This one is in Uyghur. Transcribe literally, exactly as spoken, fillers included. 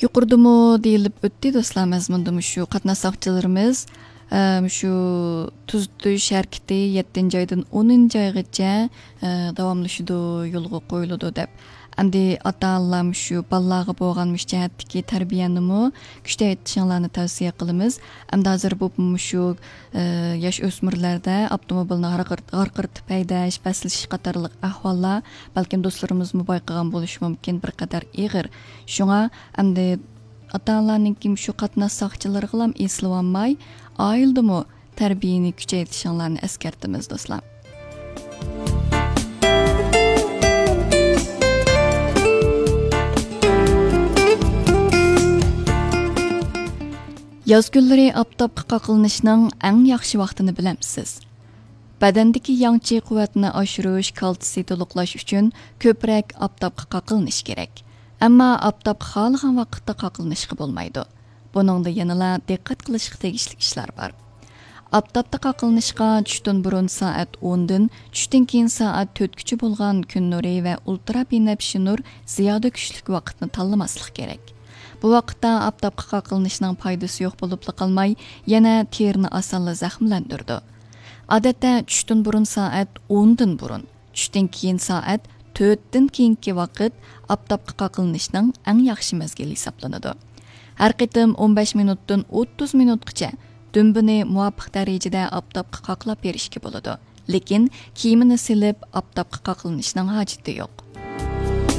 يۇقىرىدىمۇ دېيىلىپ ئۆتتى، دوستلار، مەزمۇندا مۇشۇ قاتناش ساقچىلىرىمىز، ئە، مۇشۇ تۈزىتىش ھەرىكىتى يەتتىنچى ئايدىن ئونىنچى ئايغىچە، ئە، داۋاملىشىدۇ، يولغا قويۇلىدۇ دەپ. ئەمدى ئاتا-ئانىلار مۇشۇ بالىلارغا بولغان مۇشۇ جەھەتتىكى تەربىيەنىمۇ كۈچەيتىشىڭلارنى تەۋسىيە قىلىمىز. ئەمدى ھازىر بۇ مۇشۇ، ئە، ياش ئۆسمۈرلەردە ئاپتوموبىلنى ھارقىرت-، ھارقىرىتىپ ھەيدەش، پەسلىشىش قاتارلىق ئەھۋاللار بەلكىم دوستلىرىمىزمۇ بايقىغان بولۇشى مۇمكىن، بىر قەدەر ئېغىر. شۇڭا ئەمدى ئاتا-ئانىلارنىڭكى مۇشۇ قاتناش ساقچىلىرىغىلام ئېسىلىۋالماي، ئائىلىدىمۇ تەربىيەنى كۈچەيتىشىڭلارنى ئەسكەرتىمىز، دوستلار. ياز كۈنلىرى ئاپتاپقا قاقلىنىشنىڭ ئەڭ ياخشى ۋاقتىنى بىلەمسىز؟ بەدەندىكى ياڭچى قۇۋۋەتنى ئاشۇرۇش، كالتسىي تولۇقلاش ئۈچۈن كۆپرەك ئاپتاپقا قاقلىنىش كېرەك. ئەمما ئاپتاپقا خالىغان ۋاقىتتا قاقلىنىشقا بولمايدۇ. بۇنىڭدا يەنىلا دىققەت قىلىشقا تېگىشلىك ئىشلار بار. ئاپتاپتا قاقلىنىشقا چۈشتىن بۇرۇن سائەت ئوندىن، چۈشتىن كېيىن سائەت تۆتكىچە بولغان كۈن نۇرى ۋە ئۇلترا بىنەپشە نۇر زىيادە كۈچلۈك ۋاقىتنى تاللىماسلىق كېرەك. بۇ ۋاقىتتا ئاپتاپقا قاقلىنىشنىڭ پايدىسى يوق بولۇپلا قالماي، يەنە تېرىنى ئاسانلا زەخىملەندۈرىدۇ. ئادەتتە چۈشتىن بۇرۇن سائەت ئوندىن بۇرۇن، چۈشتىن كېيىن سائەت تۆتتىن كېيىنكى ۋاقىت ئاپتاپقا قاقلىنىشنىڭ ئەڭ ياخشى مەزگىلى ھېسابلىنىدۇ. ھەر قېتىم ئون بەش مىنۇتتىن ئوتتۇز مىنۇتقىچە دۈمبىنى مۇۋاپىق دەرىجىدە ئاپتاپقا قاقلاپ بېرىشكە بولىدۇ. لېكىن كىيىمىنى سېلىپ ئاپتاپقا قاقلىنىشنىڭ ھاجىتى يوق.